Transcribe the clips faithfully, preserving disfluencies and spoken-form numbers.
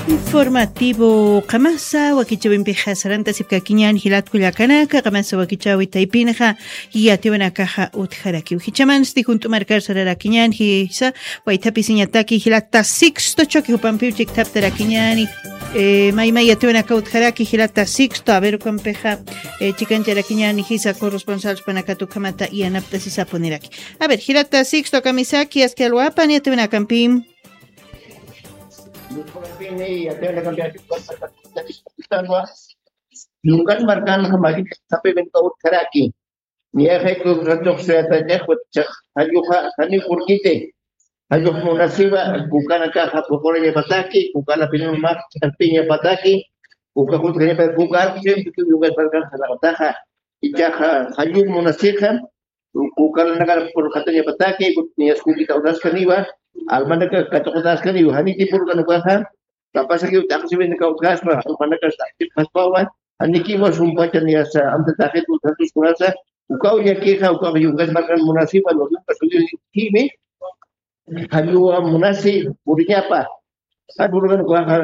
Informativo qamasa wakichawimpixa sarantasipkakiñän jilat kullakanaka, qamasa wakichawi taypinxa yatiwanakaxa utjarakiw. Jichamansti junt'umarkar sararakiñän jisa, waythapisiñataki jilata Sixto Choque jupampiw chiktaptarakiñäni. Eh, maymay yatiwanaka utjaraki jilata Sixto, a ver, ukampixa, eh, chikancharakiñäni jisa corresponsal supanakat ukhamata yanapt'asisapuniraki. A ver, jilata Sixto kamisaki, aski alwapan yatiwanakampim. Yungan markanxa mari llaqtapiw utjaraki. Niyaxayku ratuxsayatañax, jalluxa janiw purkiti. Jallux munasiwa, kukanakaxa puqurañapataki, kukalapinun maq ch'arpiñapataki, uka jutjañapataki, kuka arqsiw yungan markanxa laqtaxa. Ichaxa jallux munasixa, kukalanakar purxatañapataki, niyaskutita unaskaniwa, almanaka katuqutaskaniwa, janiti purkanukaxa, kapasakiw t'aqsiwinakaw utjaspa, almanaka t'aqsipxaspawa, janikiwa sumpacha niyasa, amtataxit utjatuskunasa, ukaw llakixa, ukax yungas markan munasiwa, lo yungas uyunikimi, jalluwa munasi, puriñapa, jan purkanukaxa,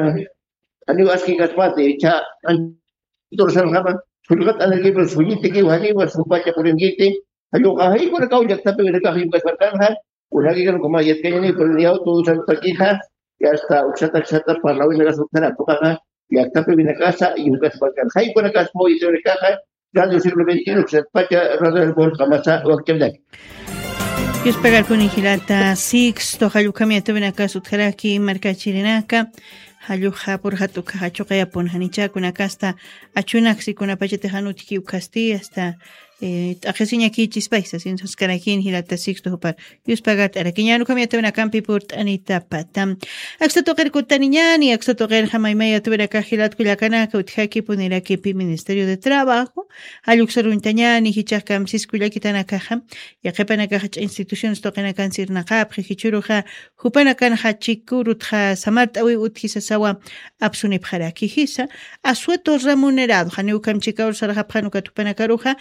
janiw aski kaspati, cha, antursanxama, sullqat anarkipa, sullitikiw, janiwa sumpacha purinkiti, Jallunxa, jaykunakaw llaqtapiwinakax yungasparkanxa, kunakikar ukama yatkañani, pero niyaw tusantakixa, y hasta uksata uksata parlawinakas utjara, tuqaxa, llaqtapiwinakasa yungasparkan. Jaykunakas muyt'unakaxa, Radio Siglo veintiuno, uksatpacha, Radio del Pueblo, qamasa, wakchawinaki. Yuspagarpuni jilata Sixto, jallukami yatawinakas utjaraki, markachirinaka, jalluxa purxat ukaxa chuqayapun janichakunakasta, achunaksi kunapachatix anutki ukasti, hasta eh, t'aqhisiñakichispaysa, sin saskarakin jilata Sixto jupar. Yuspagart'arakiñän ukham yatawinakampi purt'anitapata. Aksa tuqir kutaniñäni, aksa tuqirxa maymay yatawinakax jilat kullakanaka utjaki punirakipi Ministerio de Trabajo, jalluksaruñtañäni, jichhax kamsis kullakitanakaxa, yaqhipanakaxa instituciones tuqinakansi irnaqapxi, jichhüruxa, jupanakanxa chikurutxa samart'äwiw utji sasawa apsunipxaraki jisa, asueto remunerado, janiw ukham chikawr sarxapxan ukat jupanakaruxa,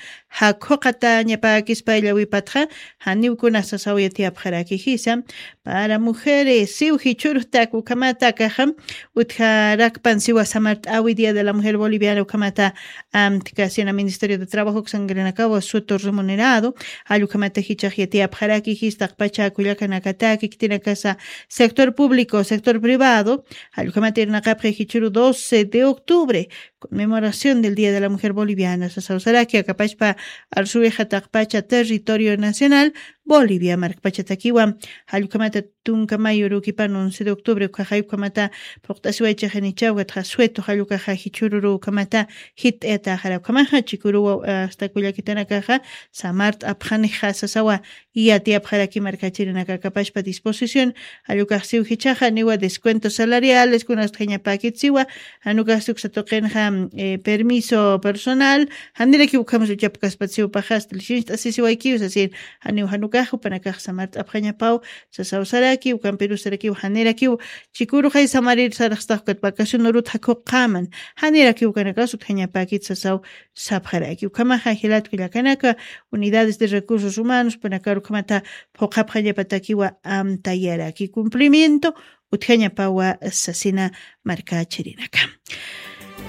jakhuqatañapäkispa illawipatxa, janiw kuna sasaw yatiyapxaraki jisa, para mujeres, siw jichhürtak ukhamatakaxa, utjarakpan siwa samart'äwi Día de la Mujer Boliviana ukhamata, amtkasina Ministerio de Trabajo uksankirinakawa asueto remunerado, jall ukhamata jichhax yatiyapxaraki jis taqpacha kullakanakataki, khitinakasa sector público, sector privado, jall ukhamata irnaqapxi jichhüru doce de octubre, conmemoración del Día de la Mujer Boliviana, sasaw saraki, akapachpa arsuwixa taqpacha territorio nacional, Bolivia markpachatakiwa, jall ukhamata tunka mayo urukipan once de octubre, ukhaxa jall ukhamata phuqt'asiwaychixinichaw, ukatxa asueto jall ukaxa jichhüruru ukhamata jit'ayatäxara ukhamaxa, chikuruwa, hasta kullakitanakaxa, samart'apxanixa sasawa, yatiyapxaraki markachirinaka akapachpa disposición, jall ukax siw jichhaxa, niwa descuentos salariales, kunasta utjañapäkit siwa, jan ukax uksa tuqinxa, eh, permiso personal, janirakiw ukham suchapkaspat siw paxasta, lisincht'asisiwaykiw sasin, janiw jan ukax jupanakax samart'apxañapaw, sasaw saraki, ukampirus sarakiw, janirakiw, chikuruxay samarir saraxstax ukat vacación urut jakhuqaman, janirakiw ukanakas utjañapäkit sasaw, sapxaraki. Ukhamaxa jilat kullakanaka, unidades de recursos humanos, jupanakar ukhamata phuqhapxañapatakiwa amtayaraki. Cumplimiento, utjañapawa sasina markachirinaka.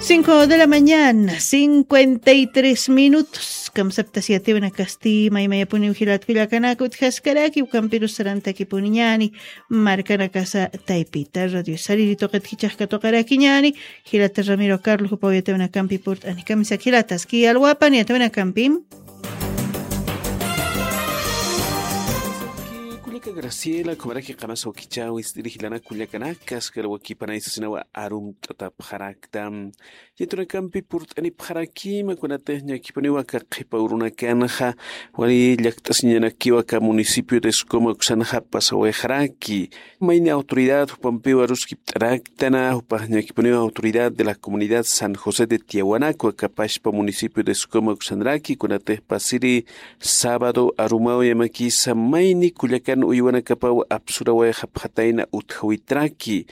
Cinco de la mañana, cincuenta y tres minutos. Kamsaptasi yatawinakasti, maymayapuniw jilat kullakanaka utjaskaraki, ukampirus sarantakipuniñäni, markanakasa taypita. Radio Sariri tuqit jichhax katuqarakiñäni, jilata Ramiro Carlos, jupaw yatawinakampi purt'ani. Kamisaki jilata, aski alwapan yatawinakampi. Kullaka Graciela, ukhamaraki qamasa wakichäwi ist'iri jilanak kullakanaka, aski alwakipanay sasinawa arumt'atapxarakta. Yatawinakampi purt'anipxarakima, kunatix ñakipuniwa aka qhipa urunakanxa, wali llakt'asiñanakiwa aka municipio de Escoma uksanxa pasawayxaraki. Mayni autoridad jupampiw aruskipt'araktana, jupax ñakipuniwa autoridad de la comunidad San José de Tiahuanaco, akapachpa municipio de Escoma uksanraki, kunatix pasiri sábado arumaw yamakisa mayni kullakan uywanakapaw apsurawayxapxatayna utjawitraki.